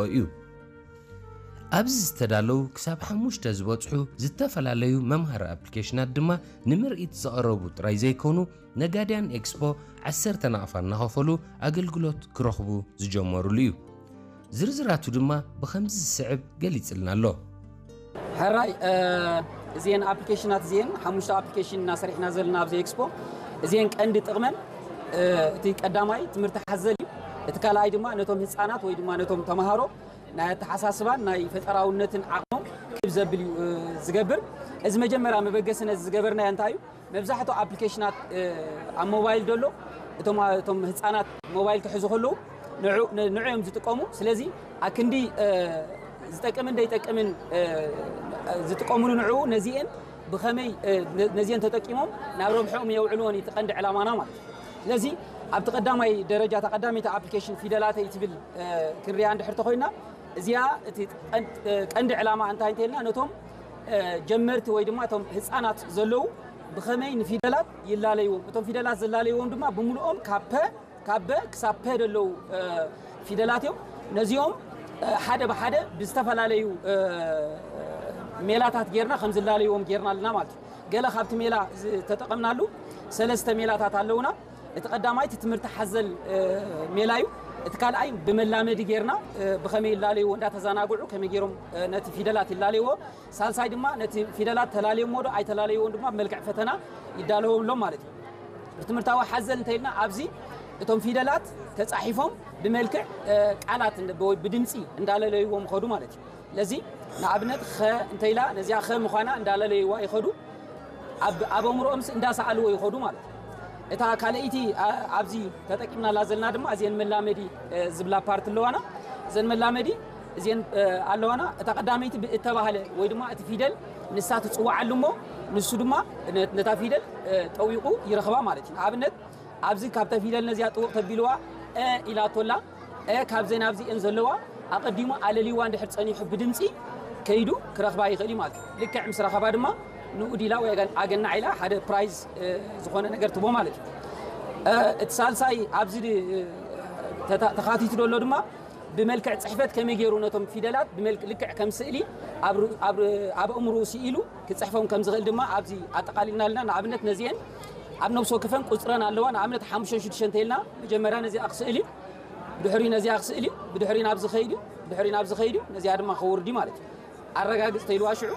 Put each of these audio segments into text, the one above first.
እዩ። ኣብዚ ዝተዳለዉ ክሳብ ሓሙሽተ ዝበጽሑ ዝተፈላለዩ መምሃሪ ኣፕሊኬሽናት ድማ ንምርኢት ዝቐረቡ ጥራይ ዘይኮኑ፣ ነጋድያን ኤክስፖ ዓሰርተ ናቕፋ እናኸፈሉ ኣገልግሎት ክረኽቡ ዝጀመሩሉ እዩ። ዝርዝራቱ ድማ ብኸምዚ ዝስዕብ ገሊጽልና ኣሎ። ሕራይ፣ እዚአን ኣፕሊኬሽናት እዚአን ሓሙሽተ ኣፕሊኬሽን እናሰሪሕና ዘለና ኣብዚ ኤክስፖ፣ እዚአን ቀንዲ ጥቕመን እቲ ቀዳማይ ትምህርቲ ሓዘል እዩ። እቲ ካልኣይ ድማ ነቶም ህፃናት ወይ ድማ ነቶም ተምሃሮ ናይ ኣተሓሳስባን ናይ ፈጠራውነትን ዓቕሞም ክብ ዘብል እዩ ዝገብር። እዚ መጀመርያ መበገሲ ነዚ ዝገበርናዮ እንታይ እዩ? መብዛሕትኡ ኣፕሊኬሽናት ኣብ ሞባይል ደሎ እቶም ህፃናት ሞባይል ክሕዙ ከለዉ ንዑ እዮም ዝጥቀሙ። ስለዚ ኣክንዲ ዝጠቅምን ዘይጠቅምን ዝጥቀምሉ ንዑ ነዚአን ብኸመይ ነዚአን ተጠቂሞም ናብ ረብሐኦም የውዕልዎን እዩ እቲ ቀንዲ ዕላማና ማለት እዩ። ስለዚ ኣብቲ ቀዳማይ ደረጃ እታ ቀዳመይቲ ኣፕሊኬሽን ፊደላተይ ትብል ክንሪኣ እንድሕር ተኮይና እዚኣ እቲ ቀንዲ ዕላማ እንታይ እንተልና ነቶም ጀመርቲ ወይ ድማ እቶም ህፃናት ዘለዉ ብኸመይ ንፊደላት ይላለይዎም፣ እቶም ፊደላት ዝላለይዎም ድማ ብምልኦም ካብ ፐ ካብ በ ክሳብ ፐ ዘለዉ ፊደላት እዮም። ነዚኦም ሓደ ብሓደ ብዝተፈላለዩ ሜላታት ጌርና ከም ዝላለይዎም ጌርና ኣለና ማለት እዩ። ገለ ካብቲ ሜላ ዝተጠቐምናሉ ሰለስተ ሜላታት ኣለውና። እቲ ቀዳማይ እቲ ትምህርቲ ሓዘል ሜላ እዩ። እቲ ካልኣይ ብመላመዲ ጌርና ብኸመይ ይላለይዎ እንዳተዘናግዑ ከመይ ገይሮም ነቲ ፊደላት ይላለይዎ። ሳልሳይ ድማ ነቲ ፊደላት ተላለዮሞ ዶ ኣይተላለይዎን ድማ ብመልክዕ ፈተና ይዳለወሎም ማለት እዩ። ብትምህርታዊ ሓዘል እንተኢልና ኣብዚ እቶም ፊደላት ተፃሒፎም ብመልክዕ ቃላት ወይ ብድምፂ እንዳለለይዎም ኸዱ ማለት እዩ። ስለዚ ንኣብነት ኸ እንተኢላ ነዚኣ ኸ ምዃና እንዳለለይዋ ይኸዱ። ኣብ ኣእምሮኦም እንዳሰኣልዎ ይኸዱ ማለት እዩ። እታ ካልኣይቲ ኣብዚ ተጠቂምናላ ዘለና ድማ እዚአን መላመዲ ዝብላ ፓርት ኣለዋና። እዘን መላመዲ እዚአን ኣለዋና። እታ ቀዳመይቲ ብእተባህለ ወይ ድማ እቲ ፊደል ንሳ ትፅዋዓሉ እሞ ንሱ ድማ ነታ ፊደል ጠዊቑ ይረኽባ ማለት እዩ። ንኣብነት ኣብዚ ካብታ ፊደል ነዚኣ ጥውቕ ተቢልዋ እ ኢላቶላ እ ካብዘን ኣብዚአን ዘለዋ ኣቐዲሙ ኣለሊዋ እንድሕር ጸኒሑ ብድምፂ ከይዱ ክረኽባ ይኽእል እዩ ማለት እዩ። ልክዕ ምስ ረኸባ ድማ ንኡድ ኢላ ወይ ኣገናዕ ኢላ ሓደ ፕራይዝ ዝኾነ ነገር ትቦ ማለት እዩ። እቲ ሳልሳይ ኣብዚ ተኻቲቱ ዘሎ ድማ ብመልክዕ ፅሕፈት ከመይ ገይሩ ነቶም ፊደላት ልክዕ ከም ስእሊ ኣብ ኣእምሩ ስኢሉ ክፅሕፎም ከም ዝኽእል ድማ ኣብዚ ኣጠቓሊልና ኣለና። ንኣብነት ነዚአን ኣብ ነብሲ ወከፈን ቁፅረን ኣለዋ። ንኣብነት ሓሙሽተ ሽዱሽተ እንተኢልና መጀመርያ ነዚኣ ክስእል እዩ፣ ብድሕሪ ነዚኣ ክስእል እዩ፣ ብድሕሪ ናብዚ ኸይድ እዩ፣ ብድሕሪ ናብዚ ኸይድ እዩ፣ ነዚኣ ድማ ከውርድ እዩ ማለት እዩ። ኣረጋግፅ ተይልዋ ሽዑ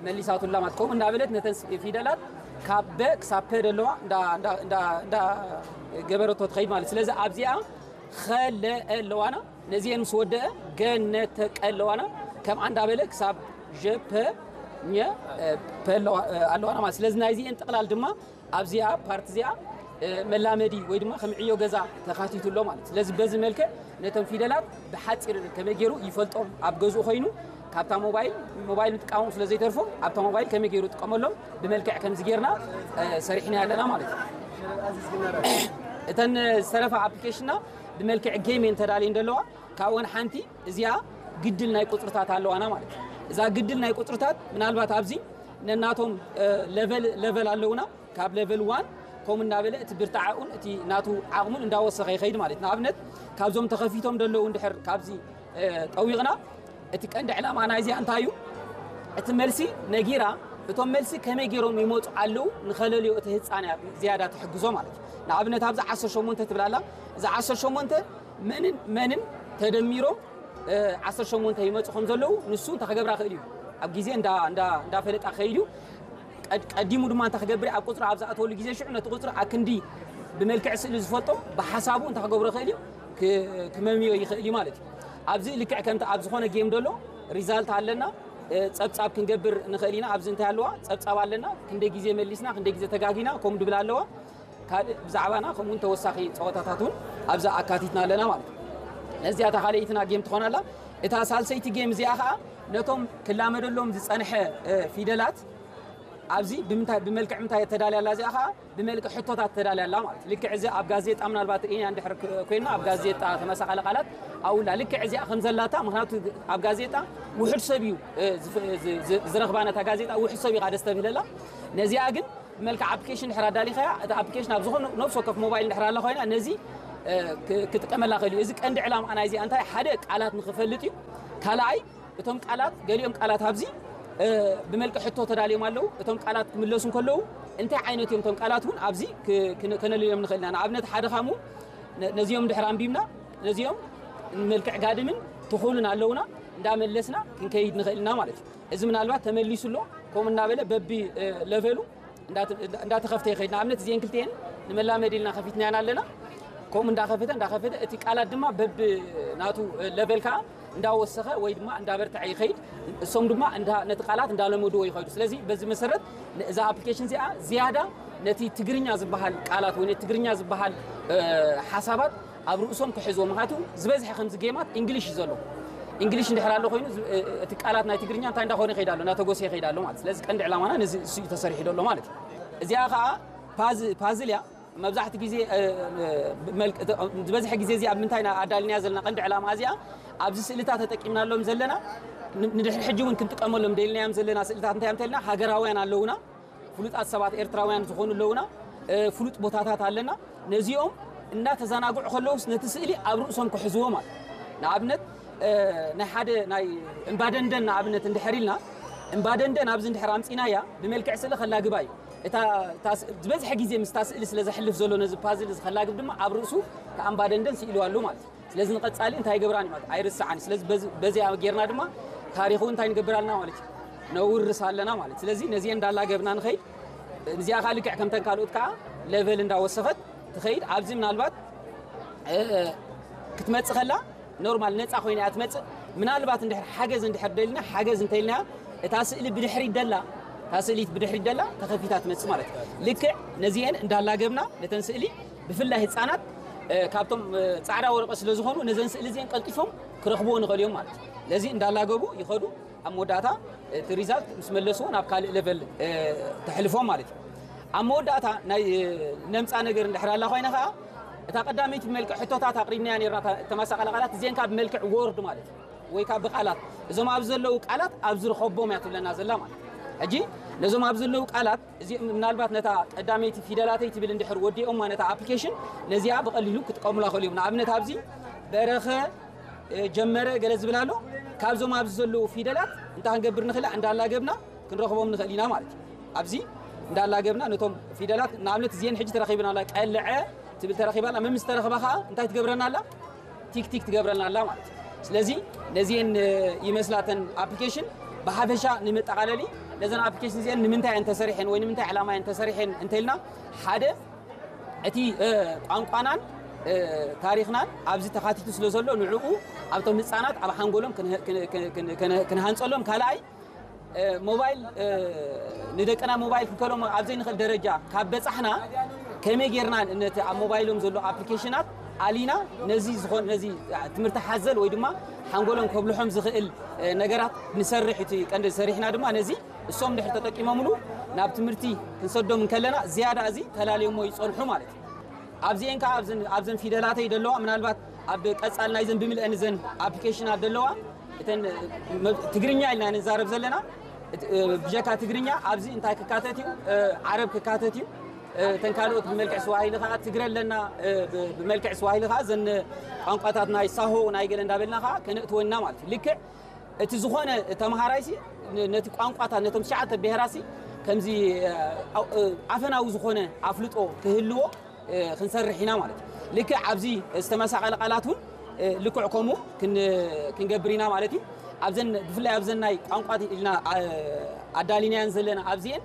መሊሳቱላ ማለት ከምኡ እንዳበለት ነተን ፊደላት ካብ በ ክሳብ ፐ ደለዋ እንዳገበረቶ ትኸይድ ማለት። ስለዚ ኣብዚኣ ኸለአ ኣለዋና ነዚአን ምስ ወደአ ገነተቀ ኣለዋና ከምኣ እንዳበለ ክሳብ ጀፐ ኘ ኣለዋና ማለት። ስለዚ ናይዚአን ጥቕላል ድማ ኣብዚኣ ፓርት እዚኣ መላመዲ ወይ ድማ ከም ዕዮ ገዛ ተኻቲቱ ኣሎ ማለት። ስለዚ በዚ መልክዕ ነቶም ፊደላት ብሓፂር ከመይ ገይሩ ይፈልጦም ኣብ ገዝኡ ኮይኑ ካብታ ሞባይል ሞባይል ምጥቃሞም ስለ ዘይተርፎ ኣብታ ሞባይል ከመይ ገይሩ ጥቀመሎም ብመልክዕ ከምዚ ጌርና ሰሪሕና ኣለና ማለት እዩ። እተን ዝተረፋ ኣፕሊኬሽንና ብመልክዕ ጌም እየን ተዳልየን ዘለዋ። ካብኦን ሓንቲ እዚኣ ግድል ናይ ቁፅርታት ኣለዋና ማለት እዩ። እዛ ግድል ናይ ቁፅርታት ምናልባት ኣብዚ ነናቶም ለቨል ኣለውና። ካብ ሌቨል ዋን ከምኡ እናበለ እቲ ብርትዓኡን እቲ ናቱ ዓቕሙን እንዳወሰኸ ይኸይድ ማለት እዩ። ንኣብነት ካብዞም ተኸፊቶም ዘለዉ እንድሕር ካብዚ ጠዊቕና እቲ ቀንዲ ዕላማ ናይዚኣ እንታይ እዩ? እቲ መልሲ ነጊራ እቶም መልሲ ከመይ ገይሮም ይመፁ ኣለዉ ንኸለልዮ እቲ ህፃን እያ ዝያዳ ትሕግዞ ማለት እዩ። ንኣብነት ኣብዚ ዓሰርተ ሸሞንተ ትብል ኣላ። እዚ ዓሰርተ ሸሞንተ መንን መንን ተደሚሮም ዓሰርተ ሸሞንተ ይመፁ ከም ዘለዉ ንሱ እንታይ ክገብራ ክእል እዩ ኣብ ግዜ እንዳፈለጣ ክኸይድ እዩ። ቀዲሙ ድማ እንታይ ክገብር ኣብ ቁፅሪ ኣብ ዝኣተወሉ ግዜ ሽዑ ነቲ ቁፅሪ ኣክንዲ ብመልክዕ ስእሊ ዝፈልጦ ብሓሳቡ እንታይ ክገብሮ ክእል እዩ ክመምዮ ይኽእል እዩ ማለት እዩ። ኣብዚ ልክዕ ከምቲ ኣብ ዝኾነ ጌም ደሎ ሪዛልት ኣለና። ፀብፃብ ክንገብር ንኽእል ኢና። ኣብዚ እንታይ ኣለዋ ፀብፃብ ኣለና። ክንደይ ግዜ መሊስና ክንደይ ግዜ ተጋጊና ከምኡ ድብል ኣለዋ። ካልእ ብዛዕባና ከምኡውን ተወሳኺ ፀወታታት እውን ኣብዛ ኣካቲትና ኣለና ማለት እዩ። ነዚኣ እታ ካልኣይትና ጌም ትኾን ኣላ። እታ ሳልሰይቲ ጌም እዚኣ ከዓ ነቶም ክላመደሎም ዝፀንሐ ፊደላት ኣብዚ ብምንታይ ብመልክዕ ምንታይ ተዳልያ ኣላ እዚኣ ከዓ ብመልክዕ ሕቶታት ተዳልያ ኣላ ማለት እዩ። ልክዕ እዚ ኣብ ጋዜጣ ምናልባት ርኢና እንድሕር ኮይንና ኣብ ጋዜጣ ተመሳቐለ ቃላት ኣውላ ልክዕ እዚኣ ከም ዘላታ ምክንያቱ ኣብ ጋዜጣ ውሕድ ሰብ እዩ ዝረኽባ ነታ ጋዜጣ ውሕድ ሰብ እዩ ደስ ተብህለላ። ነዚኣ ግን ብመልክዕ ኣፕሊኬሽን ድሕር ኣዳሊኻያ እታ ኣፕሊኬሽን ኣብ ዝኾነ ነብሲ ወከፍ ሞባይል ድሕር ኣላ ኮይና ነዚ ክጥቀመላ ክእል እዩ። እዚ ቀንዲ ዕላማ ናይዚኣ እንታይ ሓደ ቃላት ንክፈልጥ እዩ። ካልኣይ እቶም ቃላት ገሊኦም ቃላት ኣብዚ ብመልክዕ ሕቶ ተዳልዮም ኣለዉ። እቶም ቃላት ክምለሱ እንከለዉ እንታይ ዓይነት እዮም እቶም ቃላት እውን ኣብዚ ከነልዮም ንኽእል ኢና። ንኣብነት ሓደ ካሙ ነዚኦም ድሕር ኣንቢብና ነዚኦም መልክዕ ጋድምን ትኹልን ኣለውና እንዳመለስና ክንከይድ ንኽእል ኢና ማለት እዩ። እዚ ምናልባት ተመሊሱ ኣሎ ከምኡ እናበለ በቢ ለቨሉ እንዳተኸፍተ ይኸይድ። ንኣብነት እዚአን ክልቲአን ንመላመዲ ኢልና ከፊትናያን ኣለና። ከምኡ እንዳኸፈተ እንዳኸፈተ እቲ ቃላት ድማ በብ ናቱ ለቨል ከዓ እንዳወሰኸ ወይ ድማ እንዳበርትዐ ይኸይድ። እሶም ድማ ነቲ ቃላት እንዳለመድዎ ይኸዱ። ስለዚ በዚ መሰረት እዛ ኣፕሊኬሽን እዚኣ ዝያዳ ነቲ ትግርኛ ዝበሃል ቃላት ወይ ነቲ ትግርኛ ዝበሃል ሓሳባት ኣብ ርእሶም ክሕዝዎ። ምክንያቱ ዝበዝሐ ከምዚ ጌማት እንግሊሽ እዩ ዘሎ። እንግሊሽ እንድሕር ኣሎ ኮይኑ እቲ ቃላት ናይ ትግርኛ እንታይ እንዳኾነ ይኸይድ ኣሎ፣ እናተጎሰ ይኸይድ ኣሎ ማለት። ስለዚ ቀንዲ ዕላማና ነዚ እሱ እዩ ተሰሪሑ ዘሎ ማለት እዩ። እዚኣ ከዓ ፓዝ- ፓዝል እያ። መብዛሕቲ ግዜ ዝበዝሐ ግዜ እዚ ኣብ ምንታይ ኣዳልናያ ዘለና ቀንዲ ዕላማ እዚኣ ኣብዚ ስእልታት ተጠቂምናሎም ዘለና ንድሕሪ ሕጂ እውን ክንጥቀመሎም ደልናዮም ዘለና ስእልታት እንታይ እንተልና ሃገራውያን ኣለውና፣ ፍሉጣት ሰባት ኤርትራውያን ዝኾኑ ኣለውና፣ ፍሉጥ ቦታታት ኣለና። ነዚኦም እናተዘናግዑ ከለውስ ነቲ ስእሊ ኣብ ርእሶም ክሕዝዎ ማለት ንኣብነት ናይ ሓደ ናይ እምባደንደን ንኣብነት እንድሕር ኢልና እምባደንደን ኣብዚ እንድሕር ኣምፂናያ ብመልክዕ ስእሊ ከላግባ እዩ። ዝበዝሐ ግዜ ምስታ ስእሊ ስለ ዘሕልፍ ዘሎ ነዚ ፓዝል እዚ ከላግብ ድማ ኣብ ርእሱ ተኣምባደንደን ስኢሉ ኣሎ ማለት እዩ። ስለዚ ንቐፃሊ እንታይ ይገብራን ማለት ኣይርስዓን። ስለዚ በዚኣ ጌርና ድማ ታሪኹ እንታይ ንገብር ኣለና ማለት እዩ ነውርስ ኣለና ማለት። ስለዚ ነዚአን እንዳላገብና ንኸይድ። እዚኣ ከዓ ልክዕ ከምተን ካልኦት ከዓ ለቨል እንዳወሰኸት ትኸይድ። ኣብዚ ምናልባት ክትመፅእ ከላ ኖርማል ነፃ ኮይና እያ ትመፅእ። ምናልባት እንድሕር ሓገዝ እንድሕር ደልና ሓገዝ እንተኢልና እታ ስእሊ ብድሕሪት ደላ እታ ስእሊት ብድሕሪት ደላ ተኸፊታ ትመፅእ ማለት እዩ። ልክዕ ነዚአን እንዳላገብና ነተን ስእሊ ብፍላይ ህፃናት ካብቶም ፃዕዳ ወረቀት ስለ ዝኾኑ ነዘን ስእሊ እዚአን ቀልጢፎም ክረኽብዎ ንኽእል እዮም ማለት እዩ። ለዚ እንዳላገቡ ይኸዱ። ኣብ መወዳእታ እቲ ሪዛልት ምስ መለስዎ ናብ ካልእ ለቨል ተሕልፎም ማለት እዩ። ኣብ መወዳእታ ናይ ነምፃ ነገር እንድሕር ኣላ ኮይነ ከዓ እታ ቀዳመይቲ ብመልክዕ ሕቶታት ኣቕሪብናያ ነርና ተመሳቐለ ቃላት እዚአን ካብ ብመልክዕ ወርድ ማለት እዩ ወይ ካብ ብቃላት እዞም ኣብ ዘለዉ ቃላት ኣብ ዝረኸቦም እያ ትብለና ዘላ ማለት ሕጂ ነዞም ኣብ ዘለዉ ቃላት እዚ ምናልባት ነታ ቀዳመይቲ ፊደላተይ ትብል እንድሕር ወዲኦማ ነታ ኣፕሊኬሽን ነዚኣ ብቐሊሉ ክጥቀሙላ ክእሉ እዮም። ንኣብነት ኣብዚ በረኸ ጀመረ ገለ ዝብል ኣሎ። ካብዞም ኣብዚ ዘለዉ ፊደላት እንታይ ክንገብር ንኽእል እንዳላገብና ክንረኽቦም ንኽእል ኢና ማለት እዩ። ኣብዚ እንዳላገብና ነቶም ፊደላት ንኣብነት እዚአን ሕጂ ተረኺብና ኣላ ቀልዐ ትብል ተረኺባ ኣላ። መምስ ተረኽባ ከዓ እንታይ ትገብረና ኣላ? ቲክቲክ ትገብረልና ኣላ ማለት እዩ። ስለዚ ነዚአን ይመስላተን ኣፕሊኬሽን ብሓፈሻ ንመጠቓለሊ ነዘን ኣፕሊኬሽን እዚአን ንምንታይ እየን ተሰሪሐን ወይ ንምንታይ ዕላማ እየን ተሰሪሐን እንተልና ሓደ እቲ ቋንቋናን ታሪኽናን ኣብዚ ተኻቲቱ ስለ ዘሎ ንዕኡ ኣብቶም ህፃናት ኣብ ሓንጎሎም ክንሃንፀሎም ካልኣይ ሞባይል ንደቅና ሞባይል ክንከሎም ኣብ ዘይንኽእል ደረጃ ካብ በፃሕና ከመይ ጌርና ነቲ ኣብ ሞባይሎም ዘሎ ኣፕሊኬሽናት ኣሊና ነዚ ዝኾን ነዚ ትምህርቲ ሓዘል ወይ ድማ ሓንጎሎም ከብልሖም ዝኽእል ነገራት ንሰርሕ እቲ ቀንዲ ሰሪሕና ድማ ነዚ እሶም ድሕር ተጠቂሞምሉ ናብ ትምህርቲ ክንሰዶም እንከለና ዝያዳ እዚ ተላልዮሞ ይፀንሑ ማለት እዩ። ኣብዚኤን ከዓ ኣብዘን ፊደላተይ ደለዋ ምናልባት ኣብ ቀፃል ናይዘን ብምልአን ዘን ኣፕሊኬሽናት ደለዋ እተን ትግርኛ ኢልና ንዛረብ ዘለና ብጀካ ትግርኛ ኣብዚ እንታይ ክካተት እዩ ዓረብ ክካተት እዩ። እተን ካልኦት ብመልክዕ ስዋሂሊ ከዓ ትግረ ኣለና ብመልክዕ ስዋሂሊ ከዓ ዘን ቋንቋታት ናይ ሳሆ ናይ ገለ እንዳበልና ከዓ ከነእትወና ማለት እዩ። ልክዕ እቲ ዝኾነ ተምሃራይሲ ነቲ ቋንቋታት ነቶም ትሽዓተ ብሄራሲ ከምዚ ኣፈናዊ ዝኾነ ኣፍልጦ ክህልዎ ክንሰርሕ ኢና ማለት እዩ። ልክዕ ኣብዚ ዝተመሳቐለ ቃላት እውን ልክዕ ከምኡ ክንገብር ኢና ማለት እዩ። ኣብዘን ብፍላይ ኣብዘን ናይ ቋንቋ ኢልና ኣዳሊናያን ዘለና ኣብዚኤን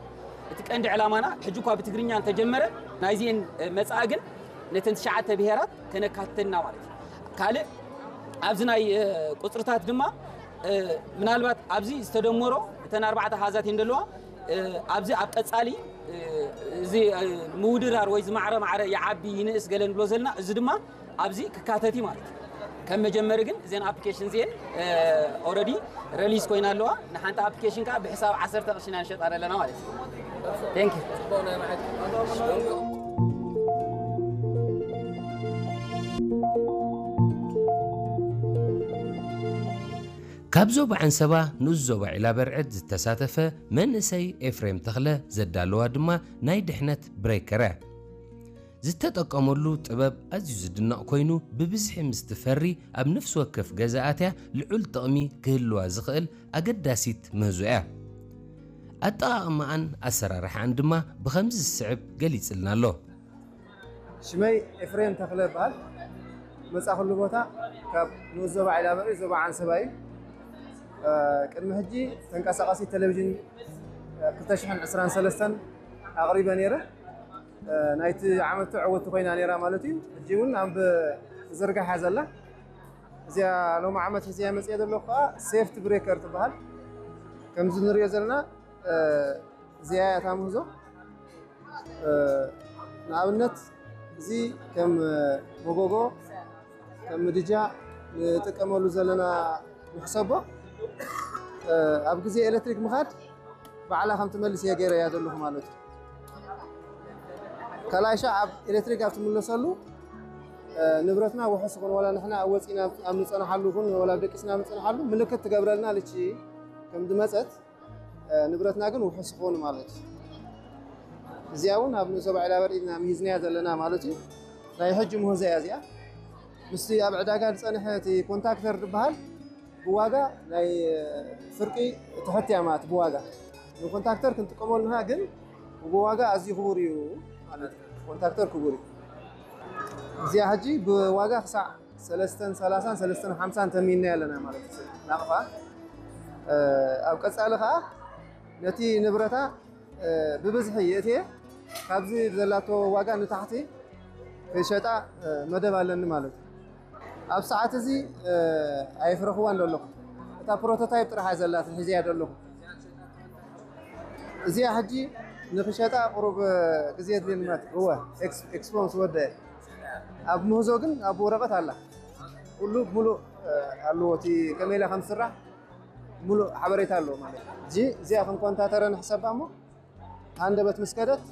እቲ ቀንዲ ዕላማና ሕጂ እኳ ብትግርኛ እንተጀመረ ናይዚኤን መፃኢ ግን ነተን ትሽዓተ ብሄራት ከነካትተን ኢና ማለት እዩ። ካልእ ኣብዚ ናይ ቁፅርታት ድማ ምናልባት ኣብዚ ዝተደመሮ እተን ኣርባዕተ ኣሃዛት እየን ዘለዋ። ኣብዚ ኣብ ቀፃሊ እዚ ምውድራር ወይ ዝማዕረ ማዕረ ይዓቢ ይንእስ ገለ ንብሎ ዘለና እዚ ድማ ኣብዚ ክካተት እዩ ማለት እዩ። ከም መጀመሪ ግን እዘን ኣፕሊኬሽን እዚአን ኦረዲ ረሊዝ ኮይና ኣለዋ። ንሓንቲ ኣፕሊኬሽን ከዓ ብሕሳብ ዓሰርተ ቅርሺ ኢና ንሸጣ ዘለና ማለት እዩ። Thank you። ካብ ዞባ ዓንሰባ ንኡስ ዞባ ዒላበርዕድ ዝተሳተፈ መንእሰይ ኤፍሬም ተኽለ ዘዳለዋ ድማ ናይ ድሕነት ብሬከር እያ። ዝተጠቀመሉ ጥበብ ኣዝዩ ዝድነቕ ኮይኑ፣ ብብዝሒ ምስ ትፈሪ ኣብ ነፍሲ ወከፍ ገዛ ኣትያ ልዑል ጥቕሚ ክህልዋ ዝኽእል ኣገዳሲት ምህዞ እያ። ኣጠቓቕማኣን ኣሰራርሓኣን ድማ ብኸምዚ ዝስዕብ ገሊጽልና ኣሎ። ሽመይ ኤፍሬም ተኽለ ይበሃል። መጻኹሉ ቦታ ካብ ንኡስ ዞባ ዒላበሪ፣ ዞባ ዓንሰባ እዩ። ቅድሚ ሕጂ ተንቀሳቐሲ ቴሌቪዥን ክልተ ሽሕን ዕስራን ሰለስተን ኣቕሪበ ነይረ። ናይቲ ዓመት ተዕወቲ ኮይና ነይራ ማለት እዩ። ሕጂ እውን ኣብ ዝርጋሕ እያ ዘላ። እዚኣ ሎሚ ዓመት ሒዘያ መፅየ ዘለኹ ከዓ ሴፍቲ ብሬከር ትበሃል። ከምዚ ንሪኦ ዘለና እዚኣ እያ እታ ምህዞ። ንኣብነት እዚ ከም መጎጎ፣ ከም ምድጃ ንጥቀመሉ ዘለና ንሕሰቦ። ኣብ ግዜ ኤሌክትሪክ ምኻድ ባዕላ ከም ትመልስ እየ ገይረያ ዘለኹ ማለት እዩ። ካልኣይ ሻዕ ኣብ ኤሌክትሪክ ኣብ ትምለሰሉ ንብረትና ውሑስ ይኹን፣ ዋላ ንሕና ኣብ ወፂና ኣብ ንፀናሓሉ ይኹን፣ ዋላ ኣብ ደቂስና ኣብ ንፀናሓሉ ምልክት ትገብረልና ልቺ ከም ዝመፀት ንብረትና ግን ውሑስ ይኸውን ማለት እዩ። እዚኣ እውን ኣብ ንኡስ ዞባ ዒላበሪ ኢና ምሂዝናያ ዘለና ማለት እዩ። ናይ ሕጂ ምህዞ እያ እዚኣ። ምስቲ ኣብ ዕዳጋ ዝፀንሐ እቲ ኮንታክተር ዝበሃል ብዋጋ ናይ ፍርቂ ትሕት እያ ማለት ብዋጋ። ንኮንታክተር ክንጥቀመሉ ንሕና ግን ብዋጋ ኣዝዩ ክቡር እዩ ማለት እዩ። ኮንታክተር ክቡር እዩ። እዚኣ ሕጂ ብዋጋ ክሳዕ ሰለስተን ሰላሳን ሰለስተን ሓምሳን ተሚንና ኣለና ማለት እዩ። ናቕፋ ኣብ ቀጻሊ ከዓ ነቲ ንብረታ ብብዝሒ የእትየ ካብዚ ዘላቶ ዋጋ ንታሕቲ ክሸጣ መደብ ኣለኒ ማለት እዩ። ኣብ ሰዓት እዚ ኣየፍረኽዋን ዘለኹ፣ እታ ፕሮቶታይፕ ጥራሕ እያ ዘላትን ሒዘያ ዘለኹ። እዚኣ ሕጂ ንክሸጣ ቁሩብ ግዜ የድልየኒ ማለት እዩ። እወ፣ ኤክስ- ኤክስፖ ምስ ወደአ ኣብ ምህዞ ግን ኣብ ወረቐት ኣላ። ኩሉ ሙሉእ ኣለዎ፣ እቲ ከመይ ኢላ ከም ዝስራሕ ሙሉእ ሓበሬታ ኣለዎ ማለት እዩ። እዚ እዚኣ ከም ኮንታተረ ንሕሰባ እሞ ሃንደበት ምስ ከደት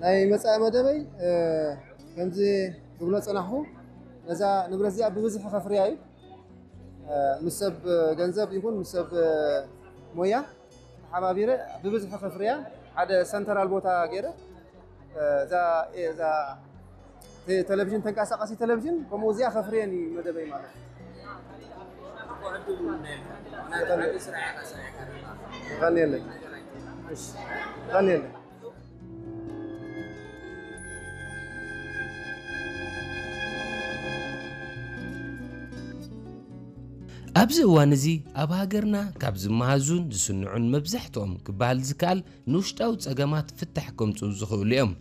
ናይ መጻኢ መደበይ ከምዚ ክብሎ ጸናሕኩ፣ ነዛ ንብረት እዚኣ ብብዝሒ ከፍርያ እዩ። ምስ ሰብ ገንዘብ ይኹን ምስ ሰብ ሞያ ተሓባቢረ ብብዝሒ ከፍርያ ሓደ ሰንተራል ቦታ ገይረ እዛ እዛ ቴሌቪዥን ተንቀሳቃሲ ቴሌቪዥን ከምኡ እዚኣ ከፍርየን እዩ መደበይ ማለት እዩ። የቐንየለይ። እሺ፣ የቐንየለይ። ኣብዚ እዋን እዚ ኣብ ሃገርና ካብ ዝመሃዙን ዝስንዑን መብዛሕትኦም ክበሃል ዝከኣል ንውሽጣዊ ጸገማት ፍታሕ ከምጽኡ ዝኽእሉ እዮም።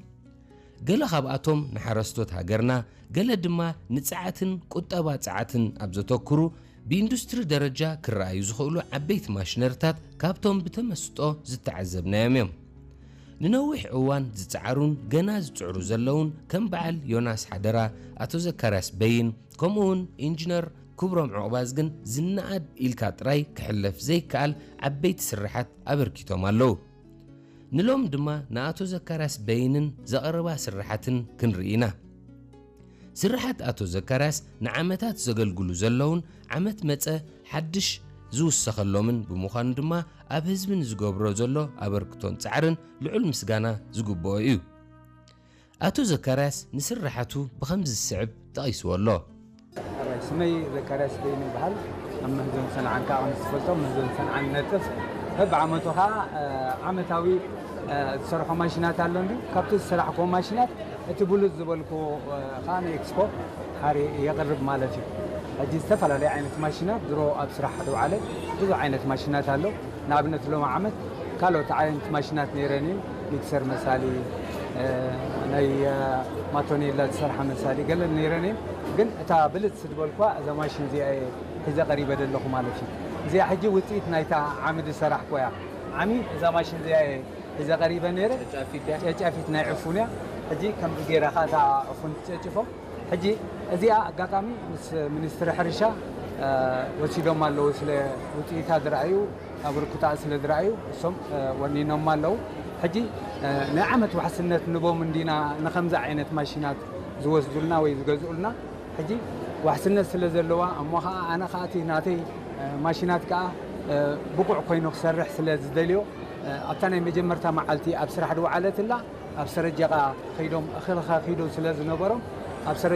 ገለ ካብኣቶም ንሓረስቶት ሃገርና፣ ገለ ድማ ንጸዓትን ቁጠባ ጸዓትን ኣብ ዘተኩሩ ብኢንዱስትሪ ደረጃ ክረኣዩ ዝኽእሉ ዓበይቲ ማሽነሪታት ካብቶም ብተመስጦ ዝተዓዘብናዮም እዮም። ንነዊሕ እዋን ዝጸዓሩን ገና ዝጽዕሩ ዘለውን ከም በዓል ዮናስ ሓደራ፣ ኣቶ ዘካርያስ በይን፣ ከምኡውን ኢንጂነር ክብሮም ዑቕባዝግን ዝነኣድ ኢልካ ጥራይ ክሕለፍ ዘይከኣል ዓበይቲ ስርሓት ኣበርኪቶም ኣለዉ። ንሎም ድማ ንኣቶ ዘካርያስ በይንን ዘቐረባ ስርሓትን ክንርኢ ኢና። ስርሓት ኣቶ ዘካርያስ ንዓመታት ዘገልግሉ ዘለውን ዓመት መጸ ሓድሽ ዝውሰኸሎምን ብምዃኑ ድማ ኣብ ህዝቢ ንዝገብሮ ዘሎ ኣበርክቶን ጻዕርን ልዑል ምስጋና ዝግብኦ እዩ። ኣቶ ዘካርያስ ንስርሓቱ ብኸምዚ ዝስዕብ ጠቒስዎ ኣሎ። ሕራይ ስመይ ዘካርያስ በይን ይበሃል። ኣብ መህዞን ሰንዓን ከዓ ከም ዝፈልጦ መህዞን ሰንዓን ነጥፍ በብዓመቱ ከዓ ዓመታዊ ዝሰርሖ ማሽናት ኣሎ እንዲ ካብቲ ዝሰራሕክዎ ማሽናት እቲ ብሉፅ ዝበልክዎ ከዓ ንኤክስፖ ሓሪ የቕርብ ማለት እዩ። ሕጂ ዝተፈላለዩ ዓይነት ማሽናት ድሮ ኣብ ስራሕ ዝውዓለ ብዙሕ ዓይነት ማሽናት ኣሎ። ንኣብነት ሎሚ ዓመት ካልኦት ዓይነት ማሽናት ነይረን እየን። ሚክሰር መሳሊ፣ ናይ ማቶኔላ ዝሰርሓ መሳሊ ገለ ነይረን እየን። ግን እታ ብልፅ ዝበልኳ እዛ ማሽን እዚኣ እየ ሒዘ ቀሪበ ዘለኹ ማለት እዩ። እዚኣ ሕጂ ውፅኢት ናይታ ዓሚ ዝሰራሕኮ እያ። ዓሚ እዛ ማሽን እዚኣ እየ ሒዘ ቀሪበ ነይረ። ጨጫፊት ናይ ዕፉን እያ። ሕጂ ከምዚ ገይራ ከዓ እታ ዕፉን ትጨጭፎ። ሕጂ እዚኣ ኣጋጣሚ ምስ ሚኒስትሪ ሕርሻ ወሲዶም ኣለዉ። ስለ ውፅኢታ ዝረኣዩ፣ ኣበርክቶኣ ስለ ዝረኣዩ እሶም ወኒኖም ኣለዉ። ሕጂ ናይ ዓመት ዋሕስነት ንቦም እንዲና ንኸምዚ ዓይነት ማሽናት ዝወስዱልና ወይ ዝገዝኡልና። ሕጂ ዋሕስነት ስለ ዘለዋ እሞ ኸዓ ኣነ ኸዓ እቲ ናተይ ማሽናት ከኣ ብቑዕ ኮይኑ ክሰርሕ ስለ ዝደልዮ ኣብታ ናይ መጀመርታ መዓልቲ ኣብ ስራሕ ዝወዓለት ኣላ። ኣብ ሰረጀቓ ከይዶም እኽልኻ ከይዶም ስለ ዝነበሮም ኣብ ሰረ